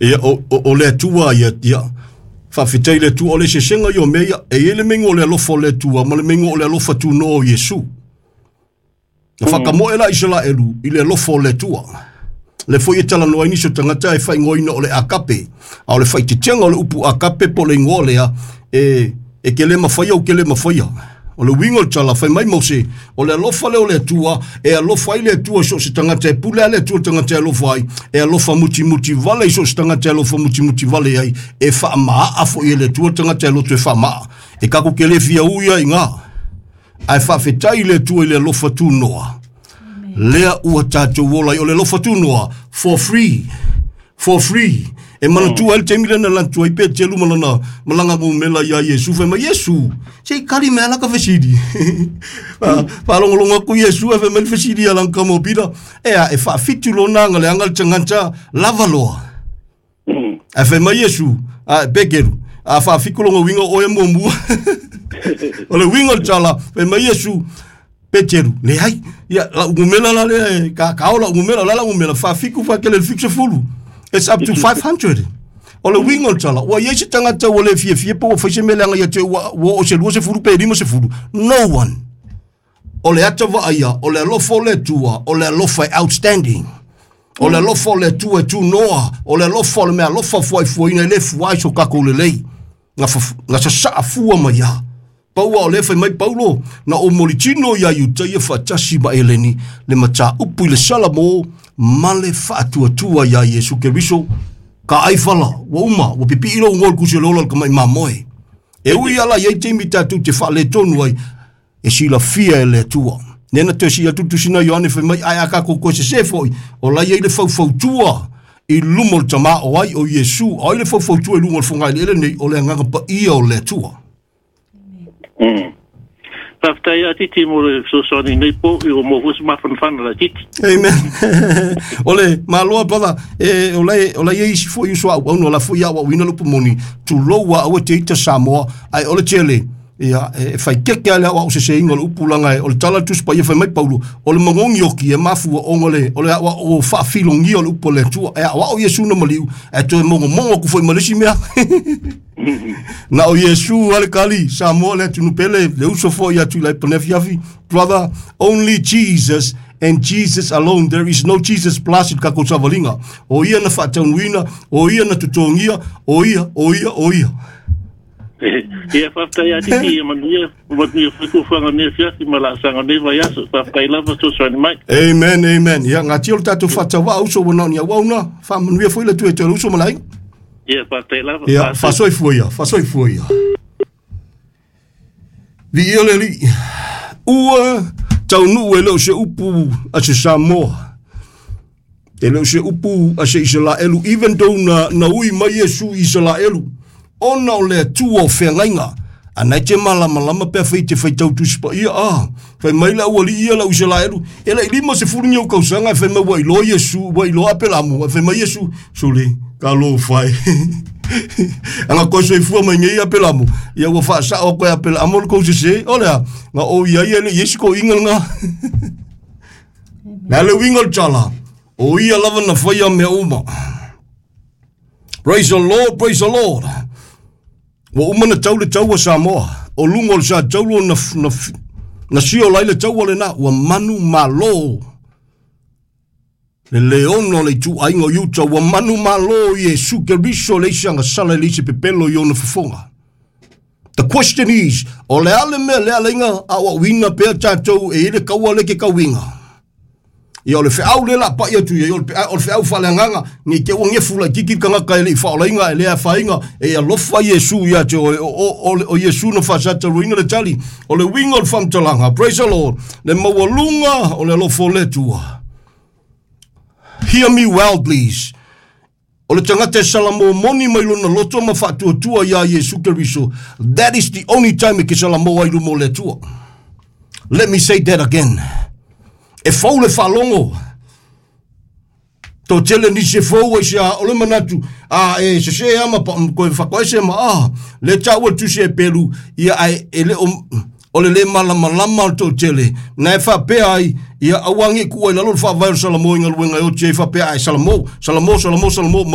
Ia, o le Atua ia, ia, faafetai i le Atua, o le eseesega ia o mea ia, e i ai le meiga o le alofa o le Atua ma le meiga o le alofa tunoa o Iesu. Na whakamoe la Isaraelu i le alofa o le Atua. Le foi e talanoa ai nisi o tagata e faaigoaina o le agape, a o le faaitiitiga o le upu agape po o le igoa lea, e ke le mafaia ou ke le mafaia. O le uiga o le tala, fai mai Mose, o le alofa lea o le Atua, e alofa ai le Atua i so o se tagata, e pule lava le Atua i le tagata e alofa ai, e alofa mutimuti vale i so o se tagata e alofa mutimuti vale ai, e faamaa foi e le Atua le tagata e loto e faamaa. E tatou te le fia ui ai i ina. Ae faafetai i le Atua i le alofa tunoa. Lea ua tatou ola ai. O le alofa tunoa, for free. For free. E manatua ai le taimi lea na lantu ai Peteru ma lana malaga gomela iā Iesu, fai mai, Iesu, se i kali mai lava laka fesili. Faalogologo atu Iesu ae fai mai le fesili ia lana tama o Pita, Ea, e faafitu lona agaleaga le tagata lava loa. Ae fai mai Iesu, a Peteru, a faafitu lona uiga o oe e muamua. O le uiga o le tala, fai mai Iesu, Peteru, leai, ia, lau numera la lea e ka, kao lau numera, o le a lau numera, faafitu faatele i le 70. It's up to 500. O le uiga o le tala, ua i ai se tagata ua le fiafia pe ua fai se mea leaga ia te ua oo i se 20 pe 50. No one. O le ata vaaia, o le alofa o le Atua, o le alofa e outstanding. O le alofa o le Atua e tunoa, o le alofa o le mea alofa fuaifuaina e le fua ai so tatou lelei. Na, na sasaa fua mai lava. Pau lava o lea fai mai Paulo, na ou molitino iā Iutaia faatasi ma Eleni le mataupu i le Salamo ma le faatuatua iā Iesu Keriso. Ka ai fala, ua uma, ua pipii lou igoa i le kusi o le ola o le tamai mamoe. E ui lava la i ai taimi tatou te faaletonu ai, e silafia e le Atua. Lea na toe sii atu le tusi na Ioane fai mai, ae a tatou toe sesē foi, o la e i ai le faufautua i luma o le Tama o ai, o Iesu, o ai le faufautua i luga o le fogaeleele nei, o le Agaga Paia o le Atua. Faafetai ia Titi mo le fesoasoani nei po i o mo foi se mafanafana la Titi. Amen. O le maloa brother, e o la o la i ai isi foi uso auauna, o la foi aoaoina le upu moni, tulou a aua te ita Samoa, ae o le tele, ia, e faikeke lava le aoao seseina o le upu leaga o le tala a le Tusi Paia fai mai Paulo, o le magogi oki e mafua ona le, o le aoao faafilogia o le upu a le Atua. E aoao Iesu na maliu, ae toe mogomogo atu foi ma le isi mea. Na o Iesu lava le kali, Samoa le atunuu pele, le uso foi ia Tuilaepa nei afiafi. Brother, only Jesus and Jesus alone. There is no Jesus plus i le tatou savaliga. O ia na faataunuina, o ia na totogia, o ia, o ia, o ia. Ia, faafetai ia Titi, ia manuia, manuia foi fuafuaga o lenei afiafi ma laasaga o lenei vaiaso. Faafetai lava fesoasoani mai. Amen, amen. Ia, gatia o le tatou faatauvaa uso ua na o ni auauna. Faamanuia foi le Atua ia te oe le uso ma le aiga. Ia, faafetai lava. Ia, faasoifua ia, faasoifua ia. Viia le Alii. Ua taunuu e le o se upu a se Samoa. E le o se upu a se Isaraelu, even though na, na ui mai Iesu i Isaraelu, ona o le Atua o feagaiga. A na e te malamalama pe afai e te faitau Tusi Paia, ah, fai mai le aualii ia lau Isaraelu, e le i 50 ni ou kausaga e fai mai ua iloa Iesu, ua iloa Apelamu, ae fai mai Iesu, sole, talofa e. Ana koe soifua mai nei Apelamu, ia ua faasao atu e Apelamu le kou sese, o le a, na ou i ai e le i ai se toeaina lena. Le a le uiga o le tala, o ia lava na faia mea uma. Praise the Lord, praise the Lord. Ua uma na tau le taua Samoa, o luga o le sa taulo na, na, na siola ai le taua lena, ua manu malo. Le leona o le ituaiga o Iuta, ua manu malo Iesu Keriso e leai se agasala e leai se pepelo i ona fofoga. The question is, o le a le mea lea alaiga aoaoina pea tatou e i ai le kaua lea ke tauiga? Ia o le feau lea la pai atu i ai, o le, o le feau faaleagaga, ne i te i ua gefu laitiiti le tagata e le i faaolaina, e le afaina, e alofa Iesu ia te oe, o, o, o, o Iesu na faasataluaina le tali, o le uiga o le faamatalaga, praise the Lord, le maualuga o le alofa o le Atua. Hear me well, please. O le tagata e salamo moni mai lona loto ma faatuatua iā Iesu Keriso, that is the only time e ke salamo ai luma o le Atua. Let me say that again. E fou le faalogo. Toatele nisi e fou ai se a, o le manatu, a e sese ama pa, koe whakaese ma a, le taua le tusi e pelu, ia ai e le o, O le lē malamalama o le toʻatele na e faapea ai ia auagi kuʻu ai lalo le faavae o le Salamo i galuega e oti ai faapea ae Salamo, Salamo, Salamo, Salamo.